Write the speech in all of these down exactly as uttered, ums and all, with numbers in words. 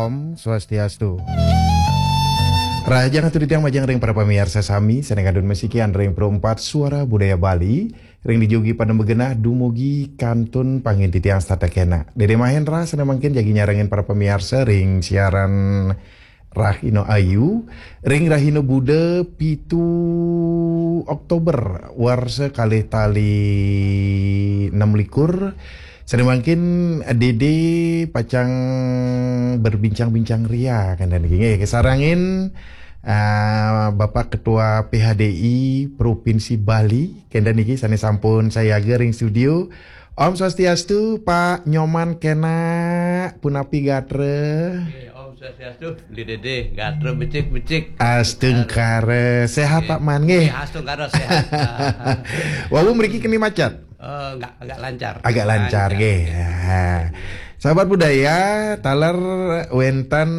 Om Swastiastu. Rahajeng atur titiang majeng ring para pamiarsa sami, sané ngandung masikian ring Pro empat Suara Budaya Bali, ring dijugi pada magenah dumugi kantun pangin titiang setata kénak. Dédé Mahendra sané mangkin jagi nyarengin para pamiarsa ring siaran Rahina Ayu, ring Rahina Buda pitu Oktober warsa kalih tali enam likur. Sané mangkin Dédé pacang berbincang-bincang ria kénten niki nggih, kasarengin, ah, Bapak Ketua P H D I Provinsi Bali, kénten niki sané sampun sayaga ring studio. Om Swastiastu, Pak Nyoman Kénak, punapi gatra? Nggih, Om Swastiastu, Beli Dédé, gatra becik-becik. Astungkara, séhat, Pak Man, nggih? Nggih, astungkara séhat. Wau mriki keni macet? Eh, nggak, agak lancar. Agak lancar, nggih. Ya. Sahabat budaya, taler wénten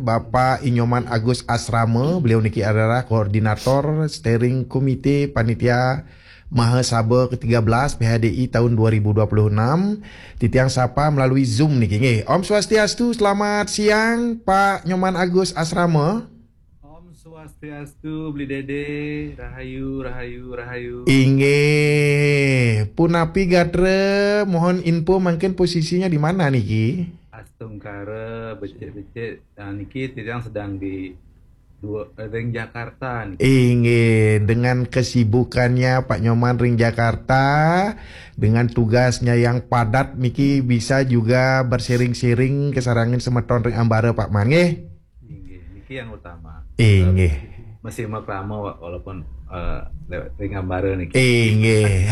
Bapak I Nyoman Agus Asrama, beliau niki adalah koordinator steering komite panitia Mahasaba ketiga belas P H D I tahun dua ribu dua puluh enam. Titiang sapa melalui Zoom niki nggih. Om Swastiastu, selamat siang Pak Nyoman Agus Asrama. Om Swastiastu, Beli Dédé, rahayu, rahayu, rahayu. Inggih, punapi gatra, mohon info mangkin posisinya di mana niki? Astungkara, becik-becik. Nah, niki titiang sedang di dua, eh, ring Jakarta niki. Inggih, dengan kesibukannya Pak Nyoman ring Jakarta, dengan tugasnya yang padat niki bisa juga bersering-sering kasarengin semeton ring ambara Pak Man nggih. Inggih, niki yang utama. Inggih. Masih makrama, Wak, walaupun, eh, lewat ring ambara niki. Inggih.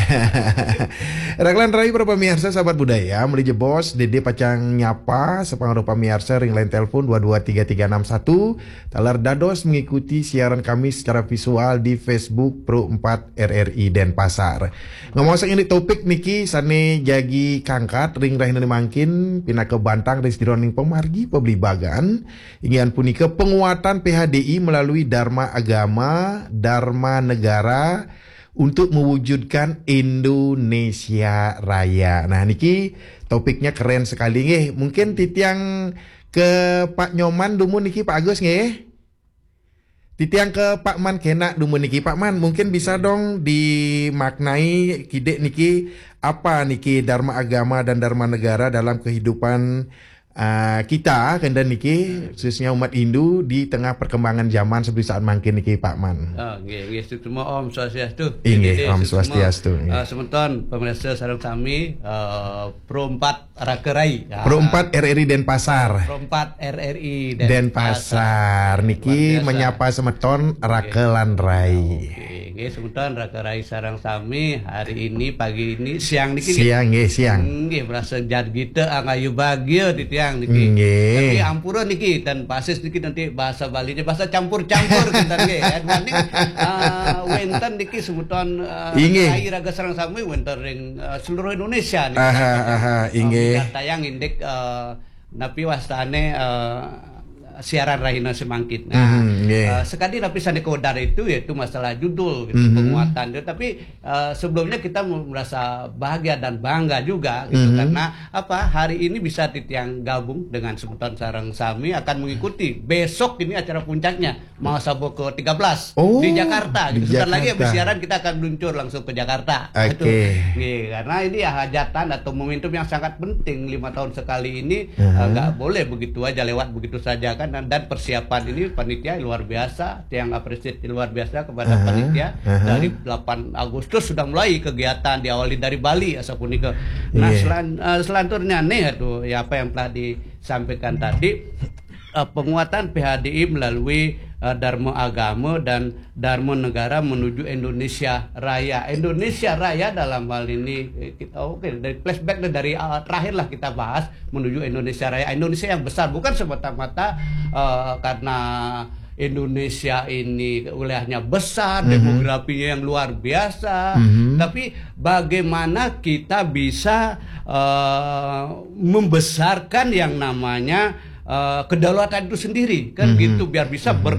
Rakelan rai para pamiarsa sahabat budaya, meli jebos Dédé pacang nyapa sapangaruh pamiarsa ring line telepon dua dua tiga tiga enam satu, taler dados mengikuti siaran kami secara visual di Facebook Pro empat R R I Denpasar. Ngomong saking topik niki sané jagi kangkat ring rahina mangkin pinaka bantang ring sajeroning pamargi pabligbagan, inggih punika penguatan P H D I melalui Dharma Agama, Dharma Negara untuk mewujudkan Indonesia Raya. Nah, niki topiknya keren sekali nggih. Mungkin titiang ke Pak Nyoman dumun niki, Pak Agus nggih. Titiang ke Pak Man Kénak dumun niki. Pak Man, mungkin bisa dong dimaknai kidik niki, apa niki Dharma Agama dan Dharma Negara dalam kehidupan, ah, kita, kénten niki, khususnya umat Hindu di tengah perkembangan zaman seperti saat mangkin niki, Pak Man. Ah, nggih, nggih, suksma, Om Swastiastu. Inggih, nggih, Om suksma. Swastiastu, nggih. Ah, semeton pemirsa sareng sami, eh, Pro empat Raka Rai. Ah. Pro empat R R I Denpasar. Pro empat R R I Denpasar. Denpasar. Niki luar biasa. Menyapa semeton Raka lan Rai. Oke, nggih, semeton Raka Rai sareng sami, hari ini, pagi ini, siang niki, nggih. Siang, nggih, siang. Nggih, merasa jar kita, angayu bahagia titiang niki. Nggih. Tapi ampura niki, dan basis niki nanti bahasa Balinya, bahasa campur-campur, kita nggih. Ya, mending, eh, wénten niki semeton, eh, inggih. Rai raga sareng sami, wénten ring, eh, seluruh Indonesia niki. Aha, aha, eh, inggih. Tayang indik, eh, napi wastané, eh, siaran rahina semangkin. Nah, mhm, nggih. Eh, sekali napi sané kawedar itu yaitu masalah judul gitu, mhm, penguatan itu. Tapi, eh, sebelumnya kita mu-, merasa bahagia dan bangga juga gitu, mhm, karena apa? Hari ini bisa titiang gabung dengan semeton sareng sami akan mengikuti besok ini acara puncaknya Mahasaba ke tiga belas, oh, di Jakarta. Di Jakarta. Gitu. Sebentar lagi habis siaran kita akan meluncur langsung ke Jakarta. Oke. Gitu. Nggih, karena ini ya hajatan atau momentum yang sangat penting, lima tahun sekali ini, aha, eh, nggak boleh begitu aja lewat begitu saja kan. Dan, dan persiapan ini panitia luar biasa, tiang appreciate luar biasa kepada, aha, panitia. Aha. Dari delapan Agustus sudah mulai kegiatan, diawali dari Bali asapunika. Nah, iya, selan-, eh, selanturnya nih, aduh, ya apa yang telah disampaikan tadi, eh, penguatan P H D I melalui, eh, Dharma Agama dan Dharma Negara menuju Indonesia Raya. Indonesia Raya dalam hal ini, eh, kita, oke, dari flashback deh, dari, eh, terakhir lah kita bahas menuju Indonesia Raya. Indonesia yang besar, bukan semata-mata, eh, karena Indonesia ini wilayahnya besar, mhm, demografinya yang luar biasa, mhm, tapi bagaimana kita bisa, eh, membesarkan yang namanya, eh, kedaulatan itu sendiri, kan, mhm, gitu, biar bisa, mhm, ber-,